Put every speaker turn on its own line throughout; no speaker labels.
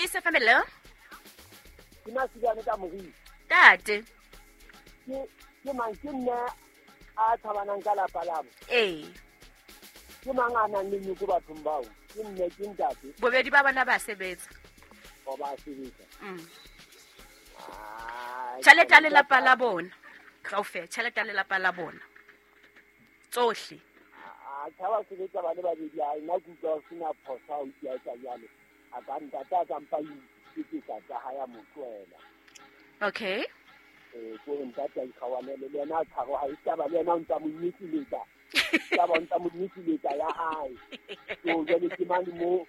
Peace FM, hello.
Ke Masilwane ka moriri.
Tate.
Ke mang ke nne a tshabanang ka lapa labo?
Ee.
Ke mang a nang le nyoko bathong bao? Ke mme, ke ntate?
Bobedi ba bona ba sebetsa.
O ba sebetsa.
Tjhelete ya lelapa la bona. Kaofela, tjhelete ya lelapa la bona. Tsohle.
A cha ba sebetsa ba le babedi, a nna ke utlwa ho sena phoso ha o utlwa etsa jwalo. A ka ntate a ka mpa iketsetsa tsa hae a mo tlohela.
Okay.
Ke hore ntate a ikgawanele le yena a tshwaro ha e taba le yena o ntsa mo nyekeletsa. Taba o ntsa mo nyekeletsa ya hae. So jwale ke mane mo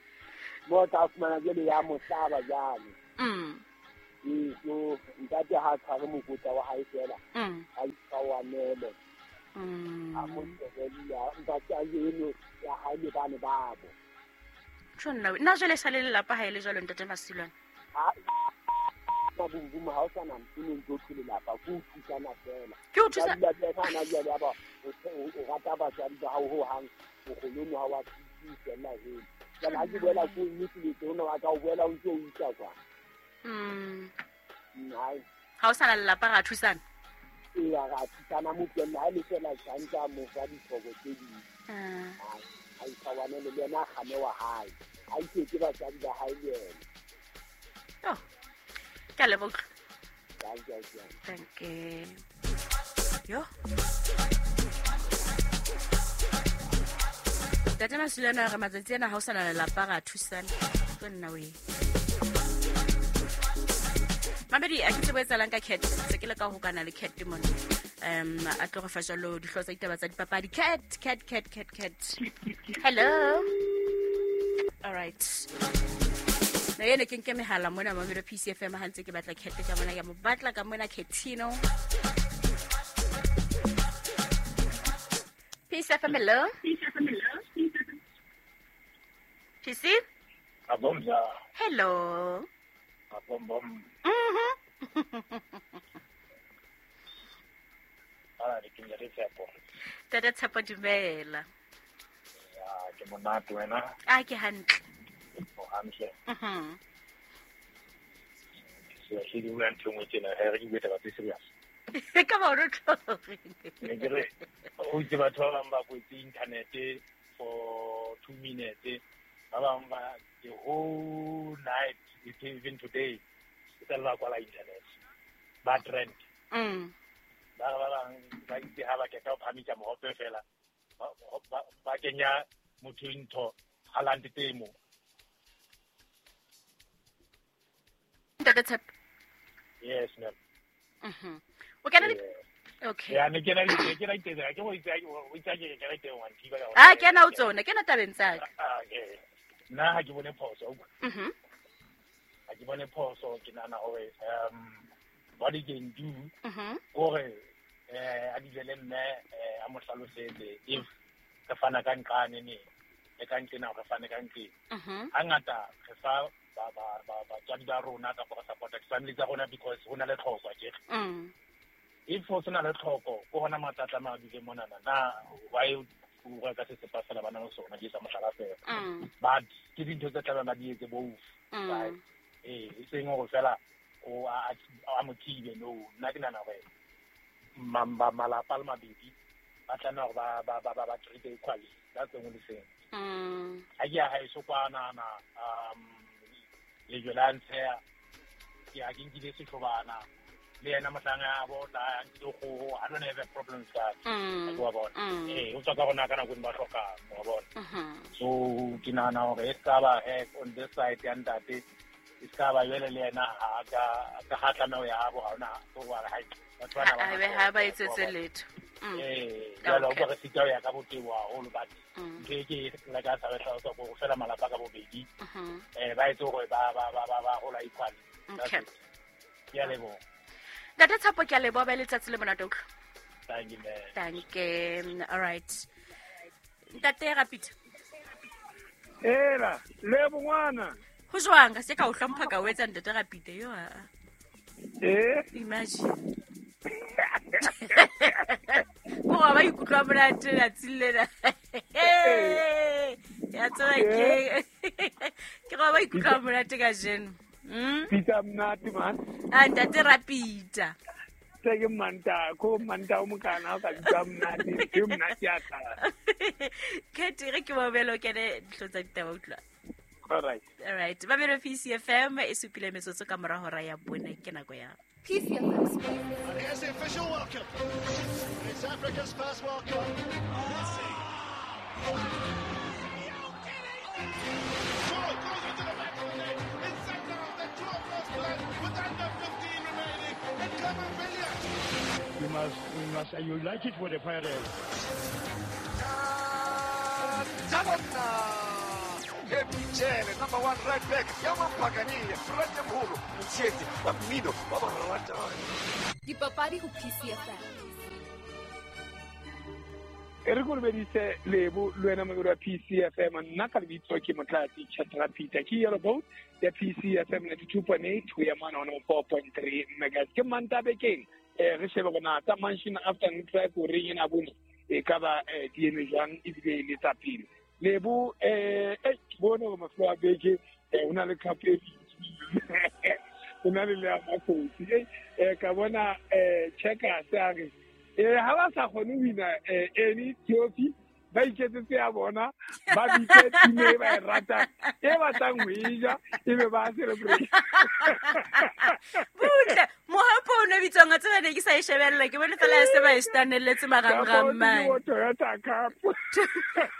o tla fumana jwale ya mo hlaba jwale. So ntate ha a tshware mokotla wa hae fela. A ikgawanele. A mo tlohelle, ntate a eno ya hae le bane babo.
Tjho nna, nna jwale sa le lelapa ha e le jwalo ntate Masilwane.
Ha mabumbum ha o sa na ntho e ntse o thwe lelapa, ke ho thusana fela.
Ke ho thusa-
Ba dula ba na jwale ya ba, o rata batswadi ba hao hohang, bokgolong ha wa thuse fela heno. Jwale ha ke boela ko nnete ona wa ka o boela o ntse o isa kwa. Hai.
Ha o sa na lelapa ra thusana?
Ee, ra thusana motho ha le fela tjantja mo fa ditlhoko tse ding. A itshwane le yena a kgame wa hae. A itse ke batswadi ba hae le yena.
Oh. Ke a leboha.
Thank you.
Thank you. Yo. Ntate Masilwane a re matsatsi ana ha o sa na lelapa ra thusana. Ke nna we. Mamedi, a ke tsebe ho etsahalang ka Cat. Se ke leka ho hokana le Cat mona. A tlo re fa jwalo dihlooho tsa ditaba tsa dipapadi. Cat, Cat, Cat, Cat, Cat. Hello. All right. Na ene ke nke mehala mona Mamelodi PCFM ha ntse ke batla Cat ka mona, ke mo batla ka mona Catino. PCFM, hello. PC?
Abomza.
Hello.
Abombom. Ala ke ntate Tshepo.
Tata Tshepo, dumela.
Ya, ke monate wena.
A ke hantle.
O hantle. Se se di bua ntho e nngwe tjena, ha re ke bue taba tse serious.
Ka ba o re tlo reng?
Ne ke re, o itse batho ba bang ba kwetse internet for 2 minutes, ba bang ba the whole night, even today, e tla ba kwala internet. Ba trend. Ba re ba bang ba itse ha ba qeta ho phamisa mohope fela, ba kenya motho ntho, Haaland temo.
Ntate Tshepo.
Yes, ma'am.
O kena le Okay.
Ya, ne kena le ke na itse, ke go itse, o itse ke kena teng wa nthiba ka.
Ah, kena o tsona, kena tabeng tsa ka.
Ah, okay. Nna ha ke bone phoso, utlwa. Ha ke bone phoso, ke nahana hore, what he can do, hore, a dule le mme, a mo hlalosetse if re fana ka nqane ne, le ka nqena re fane ka nqeng. Hangata re fa batswadi ba rona kapa re support-a di-family tsa rona because ho na le tlhoko, akere. If ho sena le tlhoko, ke hona matla a tlameha a dule monana. Na why o reka sesepa fela ba na le sona, ke sa mohlala fela. But ke dintho tse tlamehang ba di etse both, right? E seng hore fela o a mo thibe, no. Nna ke nahana hore malapa a le mabedi ba tlameha hore ba treat equally. That's the only thing. Ha ke ya haeso kwana, na, lejwe la ntsheha, ke a ke nkile sehlobana. Le yena mohlang a bo tla a nkile kgoho, I don't have a problem with that. Ke wa bona. O tswa ka rona ka nako e ba hlokang, wa bona. So ke nahana hore e ska ba, on this side ya ntate, e ska ba jwale le yena ha ka ha tlameha ho ya habo, ha hona, ho wa re, hai, batho bana ba
Ha, ha,
na
ha ba
tlhoko,
etsetse
wa bona.
letho.
Jwale o ka re sita ho ya ka botebo haholo, but ntho e ke la ka sa re hlalosa hore fela malapa ka bobedi, ba etse hore ba hola equally. That's it. Ke a leboha.
Ntate Tshepo, ke a leboha, ba letsatsi le monate utlwa.
Thank you, ma'am.
Thank you. All right. Ntate Rapid.
Ela, le bongwana.
Ho jwang? Ka se ka o hlompha ka o etsa Ntate Rapid yo a. Imagine. Ko ba ikutlwa monate letsatsing lena. Ya tseba ke. Ke go ba ikutlwa monate kajeno.
Peter mnati man.
A ntate Rapita.
Se ke manta, ko manta o mokana o ka bitsa mnati, ke mnati ya tla.
Cat re ke mobelo ke ne dihlotsa ditaba utlwa.
All right.
All right. Mamelo PCFM e supile metsotso ka mora hora ya bone ke nako ya
PCFM.
And here's the official welcome. It's Africa's first World Cup. Messi. Goal goes into the back of the net. It's second of the 2 plan with under 15 remaining. And Clement Billiard.
We must, you like it for the Pirates.
Number 1 right back,
Dipapadi ho PCFM.
E re kolobeditse Lebo le wena mobedi wa PCFM, nna ka lebitso ke Motlatsi Chatra Peter, ke yellow boat ya PCFM 92.8 ho ya mane 104.3 megahertz. Ke Manta bekeng, re shebe bona tsa Mansion Afternoon Drive ho reng ena bone e ka ba di eme jwang ebile le tsa pele. Lebo ke bone hore mafelo a beke ho na le cup e ho na le le ya Makgosi. Ka bona Checkers a re ha ba sa kgone ho wina any trophy, ba iketsetse ya bona, ba bitse team e ba e ratang, e batlang ho e ja, ebe ba celebrate.
Butle, mohapo o ne bitswang a tseba ne ke sa e shebella, ke bone fela ya se ba e stanelletse marangrang mane.
Toyota Cup.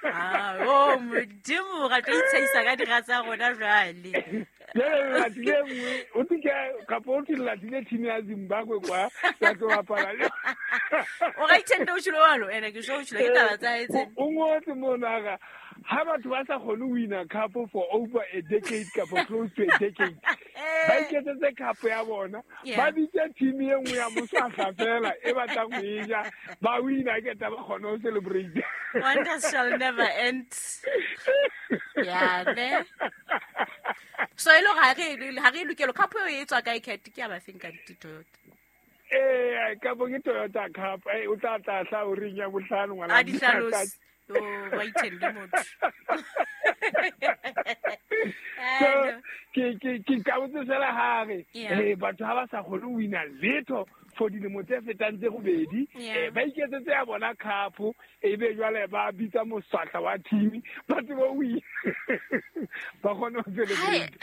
Ah, oh Modimo, ra tlo itsheisa ka dira tsa rona jwale.
Jwale le latile nngwe, o tse ke kapa o tse le latile team ya Zimbabwe kwa, ya tlo bapala le.
O ga ithende o tshilo walo, ene ke sho o tshilo ke taba tsa etse.
O ngotse mona ga ha batho ba sa kgone ho wina cup for over a decade kapa close to a decade. Ba iketsetse cup ya bona, ba bitse team e nngwe ya moswahla fela e batlang ho e ja, ba wina ke taba kgone ho celebrate.
Wonders shall never end. Yeah, ne. So e lo ha re lokelo cup e tswa kae Cat ke ya ba feng ka di Toyota.
Ka bo ke Toyota Cup, o tla tla hla o reng ya bohlano ngwana.
A di hlalose. O ba ithende motho.
So ke ka botse fela ha re batho ha ba sa kgone ho wina letho for dilemo tse fetang tse robedi, ba iketsetse ya bona cup, ebe jwale ba bitsa moswahla wa team, ba tsebe ho wina. Ba kgone ho celebrate.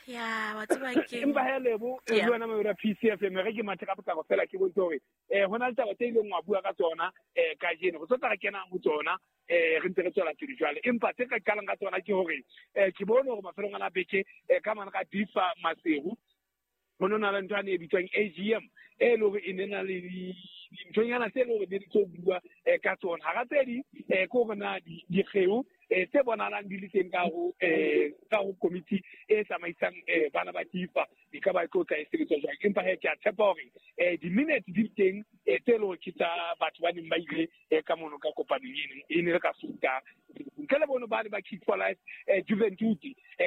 Ya, wa tseba ke.
Empa he Lebo, le wena mobedi wa PCFM, re ke mathe ka potlako fela ke bontshe hore ho na le taba tse ileng wa bua ka tsona kajeno. Re tlo tla re kena ho tsona re ntse re tswela pele jwale. Empa tse ka qalang ka tsona ke hore ke bone hore mafelong ana beke ka mane ka Difa Maseru ho no na le ntho ane e bitswang AGM e le hore e ne na le dinthonyana tse le hore di tlo bua ka tsona. Hara tse ding ke hore na dikgeo tse bonahalang di le teng ka ho committee e tsamaisang bana ba Difa di ka ba tlo tla e sebetswa jwang. Empa he ke a tshepa hore di-minutes di teng tse le hore ke tsa batho ba neng ba ile ka mono ka kopanong eno e ne le ka Sontaha. Ntle le bono ba ne ba Kick for Life Juventus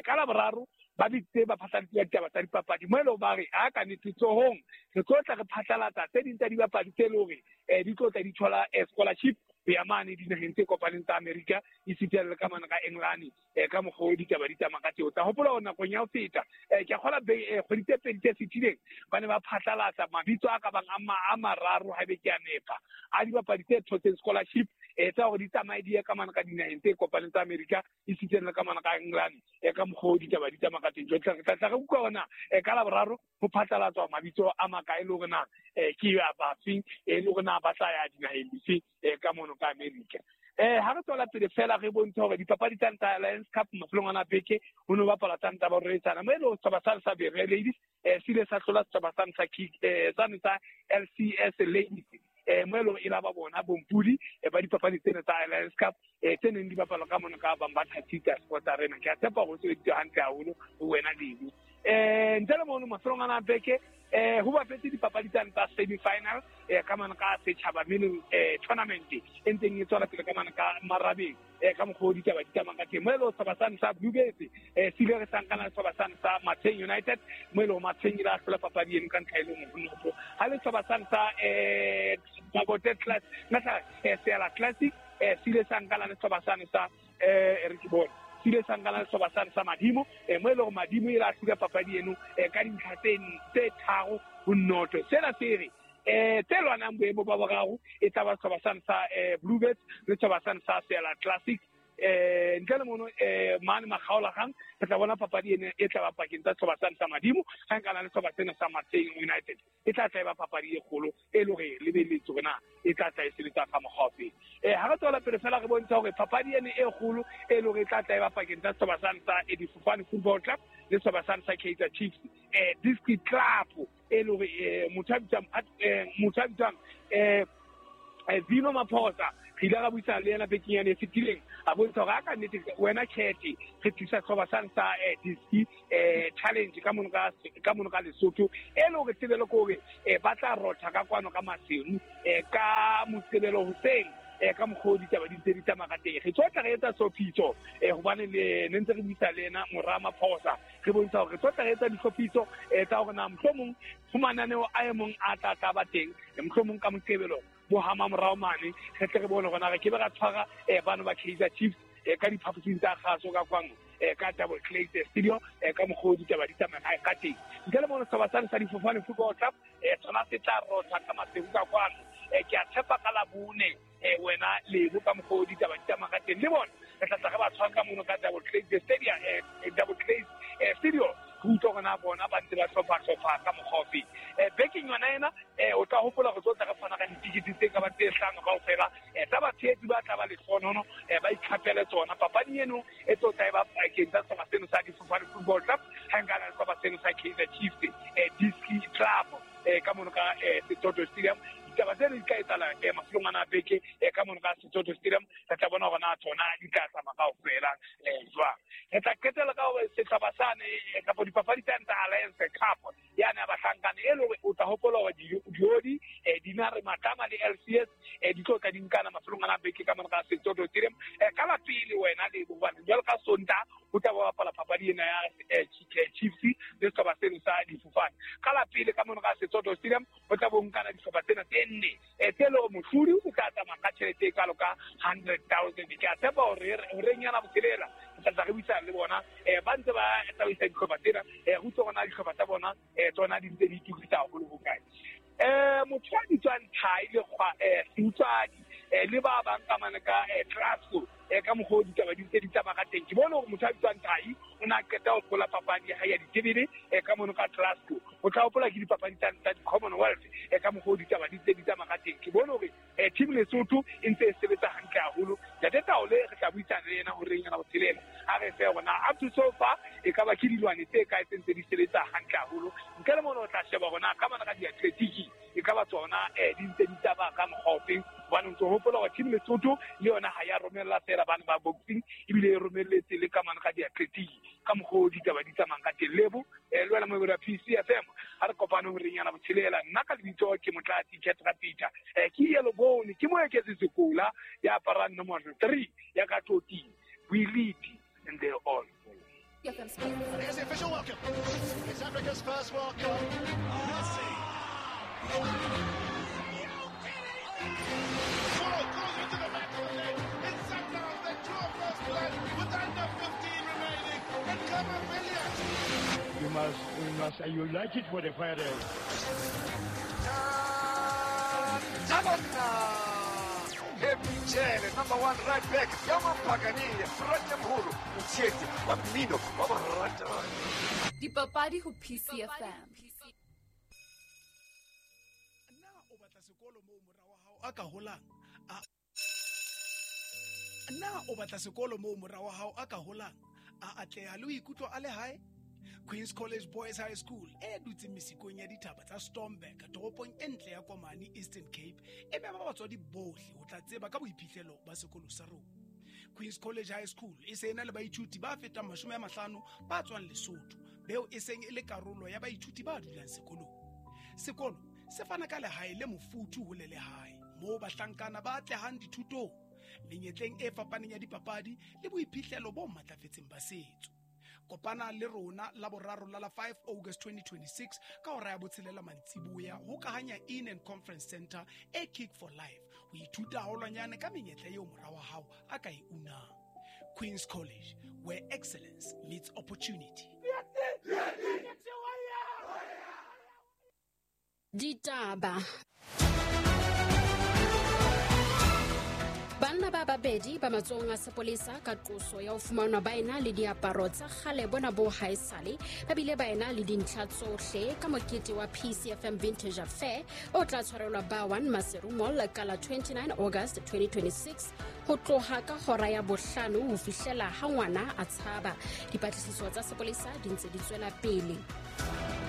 ka Laboraro ba bitse ba phatlalatse ditaba tsa dipapadi mo e leng ba re a ka nnete tsohong re tlo tla re phatlalatsa tse ding tsa dibapadi tse le hore di tlo tla di thola scholarship ho ya mane dinaheng tse kopaneng tsa Amerika esita le ka mane ka England ka mokgwa o ditaba di tsamaya ka teng. O tla hopola hore nakong ya ho feta ke a kgola kgwedi tse pedi tse fetileng ba ne ba phatlalatsa mabitso a ka bang a mararo haebe ke a nepa a dibapadi tse thotseng scholarship tsa hore di tsamaye di ye ka mane ka dinaheng tse kopaneng tsa Amerika esita le ka mane ka England ka mokgwa o ditaba di tsamaya ka teng. Jwale re tla re utlwa hore na ka Laboraro ho phatlalatswa mabitso a makae le hore na ke a bafeng le hore na ba tla ya dinaheng dife ka mono ka Amerika. Ha re tswela pele fela re bontshe hore dipapadi tsa Nta Alliance Cup mafelong ana beke ho no bapala tsa Nta Boretsana mo e le setjhaba sa sa Bere Ladies se ile sa hlola setjhaba sa sa Kick sa LCS Ladies mo e leng e la ba bona bompudi ba dipapadi tsena tsa Alliance Cup tse neng di bapalwa ka mono ka Bambatha Cheetah Sports Arena. Ke a tshepa hore o sebeditse hantle haholo ho wena Lebo. Ntle le mono mafelong ana beke ho bapetse dipapadi tsa tsa semi-final ka mane ka setjhaba meaning tournament e ntseng e tswela pele ka mane ka Marabeng ka mokgwa o ditaba di tsamayang ka teng. Mo e leng setjhaba sane sa Bluebirds se ile re sankana le setjhaba sane sa Matsheng United mo e leng Matsheng ile a hlola papadi eno ka ntlha e le nngwe ho noto. Ha le setjhaba sane sa Mabote Classic Seala Classic se ile sa nkana le setjhaba sane sa re ke bone
Se ile sa nkana le sehlopha sane sa Madimo, mo e leng hore Madimo e la hlula papadi eno ka dintlha tse 3-0. Sena se re tse lwanang boemo ba boraro e tla ba sehlopha sane sa Bluebirds le sehlopha sane sa Sela Classic. Ntle le mono mane makgaolakgang re tla bona papadi ena e tla ba pakeng tsa sehlopha sane sa Madimo ga nkana le sehlopha sena sa Matsheng United. E tla tla e ba papadi e kgolo e le hore lebelletse hore na e tla tla e sebetsa ka mokgwa ofe. Ha re tswela pele fela re bontsha hore papadi ena e kgolo e le hore e tla tla e ba pakeng tsa sehlopha sane sa Difofane Football Club le sehlopha sane sa Kaizer Chiefs Diski Club, e le hore motho a bitswang Zino Maphosa re ile ra buisana le yena bekeng yane e fetileng, a bontsha hore a ka nnete wena Khethe re tlisa sehlopha sane sa Diski Challenge ka mono ka Lesotho, e le hore tebelo ke hore ba tla rotha ka kwano ka Maseru ka Moqebelo hoseng ka mokgwa o ditaba di ntse di tsamaya ka teng. Re tlo tla re etsa hlophiso hobane le ne ntse re buisa le yena mora Maphosa, re bontsha hore re tlo tla re etsa dihlophiso tsa hore na mohlomong ho mananeo a e mong a tla tla ba teng, mohlomong ka Moqebelo bo hama morao mane, re tle re bone hore na re ke be ra tshwara bano ba Kaizer Chiefs ka diphaposing tsa kgaso ka kwano ka Double Clay Studio ka mokgwa o ditaba di tsamaya ka teng. Ntle le mono sehlopha sane sa Difofane Football Club tsona se tla rotha ka Maseru ka kwano. Ke a tshepa ka Labone wena Lebo ka mokgwa o ditaba di tsamaya ka teng, le bona re tla tla re ba tshwara ka mono ka Double Clay Stadium, Double Clay Studio, re utlwa hore na bona ba ntse ba hlopha ka mokgwa ofe. Bekeng yona ena o tla hopola hore tlo tla re fana ka ditikete tse ka ba tse 5 kaofela tsa batshehetsi ba tla ba lehlohonono ba ikhapele tsona. Papadi eno e tlo tla e ba pakeng tsa sehlopha seno sa Difofane Football Club ha nkana le sehlopha seno sa Kaizer Chiefs Diski Club ka mono ka Setsoto Stadium. Ditaba tseno di tla etsahala mafelong ana a beke ka mono ka Setsoto Stadium. Re tla bona hore na tsona di tla tsamaya kaofela jwang. Re tla qetela ka hore sehlopha sane kapa dipapadi tsane tsa Alliance Cup yane ya bahlankana, e le hore o tla hopola hore diodi Dinare Matlama le LCS di tlo tla di nkana mafelong ana a beke ka mono ka Setsoto Stadium. Ka la pele wena le hobane jwalo ka Sontaha ho tla ba bapala papadi ena ya Chiefs le sehlopha seno sa Difofane. Ka la pele ka mono ka Setsoto Stadium ho tla bo nkana dihlopha tsena tse nne tse le hore mohlodi o tla tsamaya ka tjhelete e kalo ka 100,000. Ke a tshepa hore horeng yana botshelela re tla tla re buisana le bona ba ntse ba tsamaisa dihlopha tsena, re utlwe hore na dihlopha tsa bona tsona di ntse di itokisa haholo hokae. Motho a bitswang Thai le Seutswadi le ba bang ka mane ka Glasgow ka mokgwa o ditaba di ntse di tsamaya ka teng. Ke bone hore motho a bitswang Thai o ne a qeta ho hlola papadi ya hae ya ditebele ka mono ka Glasgow. O tla hopola ke dipapadi tsa di-Commonwealth ka mokgwa o ditaba di ntse di tsamaya ka teng. Ke bone hore team Lesotho e ntse e sebetsa hantle haholo. Ntate Taole re tla buisana le yena horeng yana botshelela, a re fe hore na up to so far e ka ba ke dilwane tse kae tse ntse di sebetsa hantle haholo. Ntle le mono o tla sheba hore na ka mona ka diatletiki e ka ba tsona di ntse di tsamaya ka mokgwa ofeng, hobane o ntso hopola hore team Lesotho le yona ha ya romella fela bana ba boxing, ebile e romelletse le ka mane ka diatletiki ka mokgwa o ditaba di tsamayang ka teng. Lebo le wena moebedi wa PCFM, ha re kopane horeng yana botshelela. Nna ka lebitso ke Motlatsi Ketra Peter, ke Yellow Bone, ke Moeketsi Sekola ya aparang nomoro 3 ya ka Toting. We lead and they all follow.
Here's the official welcome. It's Africa's first World Cup. Messi. Ball goes into the back of the net. It's Sundowns that draw first blood with under 15 remaining. And Khama Billiat.
You must, you like it for the fire.
Michele, number 1 right back, Yamampagania, Ratamhuru, Mutsheti, wa mmino, wa borata.
Dipapadi ho PCFM.
Na o batla sekolo moo mora wa hao a ka holang? Na o batla sekolo moo mora wa hao a ka holang, a atleha le ho ikutlwa a le hae? Queen's College Boys High School e dutseng mesikong ya dithaba tsa Stormberg, toropong e ntle ya Komani, Eastern Cape, e mema batswadi bohle ho tla tseba ka boiphihlelo ba sekolo sa rona. Queen's College High School e se ena le baithuti ba fetang 50 ba tswang Lesotho, beo e seng e le karolo ya baithuti ba dulang sekolong. Sekolo se fana ka lehae le mofuthu ho le lehae, moo bahlankana ba atlehang dithutong, menyetleng e fapaneng ya dipapadi le boiphihlelo bo matlafetseng ba setso. Kopana le rona la boraro la 5 August 2026 ka hora ya 6 mantsiboya ho Kahanya Inn and Conference Center e Kick for Life ho ithuta haholwanyane ka menyetla eo mora wa hao a ka e unang. Queen's College, where excellence meets opportunity.
Ditaba. Banna ba babedi ba matsohong a sepolesa ka qoso ya ho fumanwa ba ena le diaparo tsa kgale bona bo haesale, ba bile ba ena le dintlha tsohle ka mokete wa PCFM Vintage Affair o tla tshwarelwa ba 1 Maseru Mall ka la 29 August 2026 ho tloha ka hora ya bohlano ho fihlela ha ngwana a tshaba. Dipatlisiso tsa sepolesa di ntse di tswela pele.